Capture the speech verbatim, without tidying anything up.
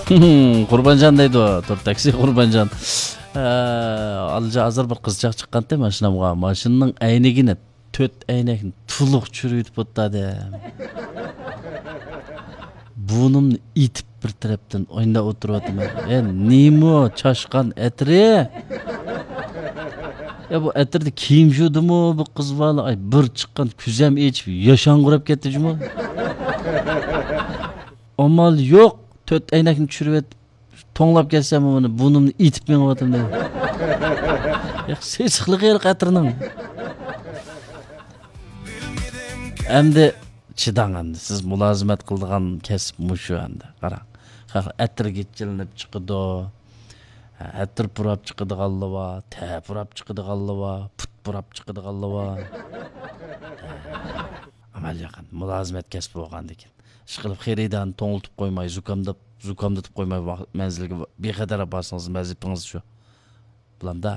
قۇربانجان دەيدۇ، تۇر تاكسى قۇربانجان. ئە، ئالجا ھازىر بىر قىزچاق چىققانتى ماشىنامغا. ماشىنىنىڭ ئەينىكىنى، تۆت ئەينەكنى تولۇق چۈشۈرۈۋېتىپ ئوتتى ئادەم. بۇرنۇمنى ئېتىپ بىر تەرەپتىن ئويناپ ئولتۇرۇۋاتىمەن. ئە، نېمە چاشقان ئەتىرى؟ يا بۇ ئەتىردە كىيىم يۇدىمۇ بۇ قىز بالا؟ ئاي، بىر چىققان كۆزەم ئېچىپ ياشاڭغۇراپ كەتتى جۇمۇ. ئامال يوق، تۆت ئەينەكنى چۈشۈرۈۋېتىپ، توڭلاپ كەتسەم بۇنى، بۇرنۇمنى ئېتىپ مېڭىۋاتىمەن. يا، سېسىقلىقى يوق ئەتىرنىڭ. ئەمدى چىداڭ ئەمدى. سىز مۇلازىمەت قىلىدىغان كەسىپ مۇشۇ ئەمدى. قاراڭ. خەق ئەتىرگە چىلىنىپ چىقىدۇ. ھە، ئەتىر پۇراپ چىقىدىغانلار بار، تەر پۇراپ چىقىدىغانلار بار، پۇت پۇراپ چىقىدىغانلار بار. ھە، ئەمەل ياقىن. مۇلازىمەت كەسپى بولغاندىكىن. ئىشقىلىپ خېرىدارنى توڭلىتىپ قويماي، زۇكامداپ، زۇكامدىتىپ قويماي ۋاق-، مەنزىلگە بىخەتەر ئاپارسىڭىز ۋەزىپىڭىز شۇ. بولامدا.